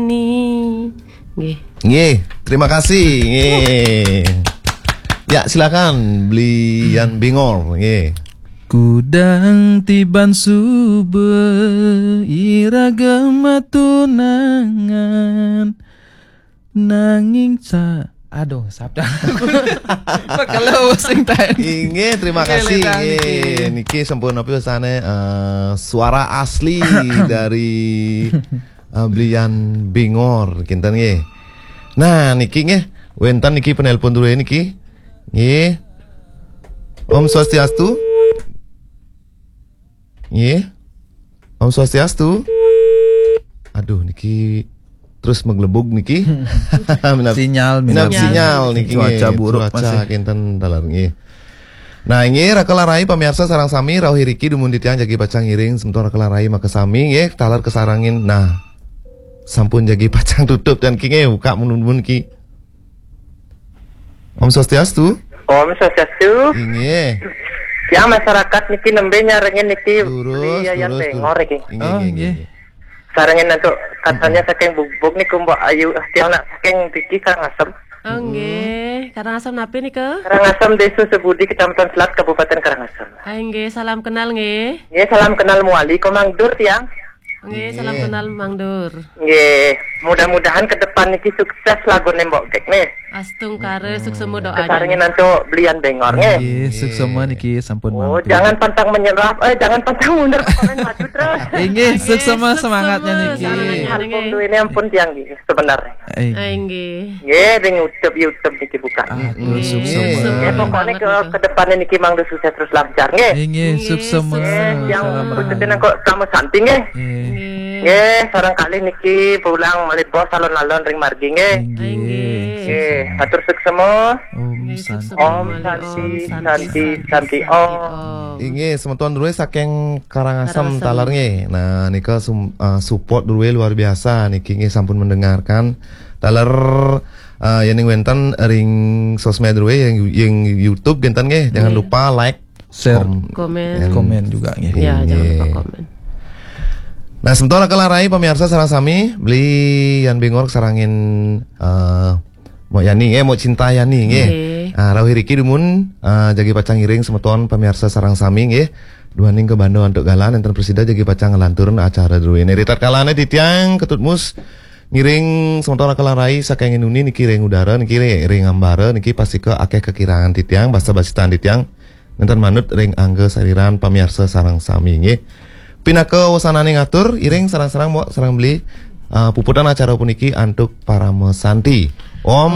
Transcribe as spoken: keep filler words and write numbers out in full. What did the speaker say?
Ni. Nggih. Nggih, terima kasih. Nggih. Ya, silakan Bli Yan Bingor, nggih. Kudang tiban suba iraga matunangan nanging sa aduh sabda kalau sing tadi. Inggih, terima kasih. Inggih, niki sampun apa sana eh, suara asli dari eh, Blian Bingor kinten nggih. Nah, niki nggih wenten niki penelpon dulu niki. Nggih. Om Swastiastu. Nggih. Om Swastiastu. Aduh niki terus menggelebug niki. Minap, sinyal, minap minap sinyal niki. Cuaca nggih, buruk cuaca masih. Kinten taler nggih. Nah, inggih raka larai pamiarsa sareng sami rauh iriki dumun titiang jagi pacang ngiring semeton raka larai makasami nggih taler kasarengin. Nah, sampun jagi pacang tutup dan ki nggih buka mun-mun ki. Om Swastiastu. Om Swastiastu. Inggih. Yang masyarakat niki nembe nyarengin niki Lurus, Bli Yayan lurus, Bengor lurus. Iki. Inggih, Oh, inggih, inggih. Inggih. Sarengin antuk katanya saking Bugbug niku Mbok Ayu tiang nak saking Diki Karangasem. Oh, nggih. Karangasem napi nika? Karangasem Desa Sebudi Kecamatan Selat Kabupaten Karangasem. Ah, nggih, salam kenal nggih. Nggih, salam kenal muali Komang Dur tiang. Nggih, salam Nggih. Kenal Mang Dur. Nggih, mudah-mudahan ke depan niki sukses lagu nembok gek nih. Astungkara suksema doa. Kesarengin antuk Blian Bengor nggih. Nggih, suksema niki sampun Oh, mampir. Jangan pantang menyerah, eh jangan pantang mundur, pokoknya maju terus. Inggih, suksema semangatnya niki. Semangatnya niki. Ampun duwe ini ampun tiang nggih sebenarnya. Eh. Ah, nggih. Nggih, ring YouTube YouTube niki buka. Ah, Nggih, suksema. Nggih, pokoknya ke, ke depannya niki Mang Dur sukses terus lancar nggih. Inggih, Nggih, suksema. Suksema. Yang Salam berikutnya rahayu. Nang kok sama santi nggih. Nggih. Nggih. Nggih, sareng kalih niki pulang malih bos alon-alon ring margi nggih. Inggih. Inggih. Nggih, atur suksema. Om Nggih, Santi. Suksema Om malih, Santi, Om Santi, Santi, Santi, Santi, Om. Om. Inggih, semeton dulu saking Karangasem Karangasem. Taler nggih. Nah, nika sum, uh, support dulu luar biasa niki nggih sampun mendengarkan. Taler uh, yening wenten ring sosmed dulu yang yang YouTube genten nggih. Jangan Nggih. Lupa like, Share. Kom-, Komen. Komen juga nggih. Ya, jangan lupa Nggih. Komen. Nah, semeton raka larai pemirsa sareng sami, Bli Yan Bingor sarengin eh Mbok Yani nggih, Mbok Cinta Yani nggih. Nggih. Ah, rauh iriki dumun eh, jagi pacang ngiring semeton pemirsa sareng sami nggih. Duaning ke Banda antuk galah nenten presida jagi pacang ngelanturun acara druene. Ritatkala ne titiang Ketut Mus ngiring semeton raka larai saking nuni niki ring udara niki ring ambara niki pastika akeh kekirangan titiang basa basitan titiang. Nenten manut ring angga sariran pamiarsa sareng sami nggih. Pinaka wasananing atur iring sareng-sareng Mbok sareng Bli uh, puputan acara puniki antuk parama santi. Om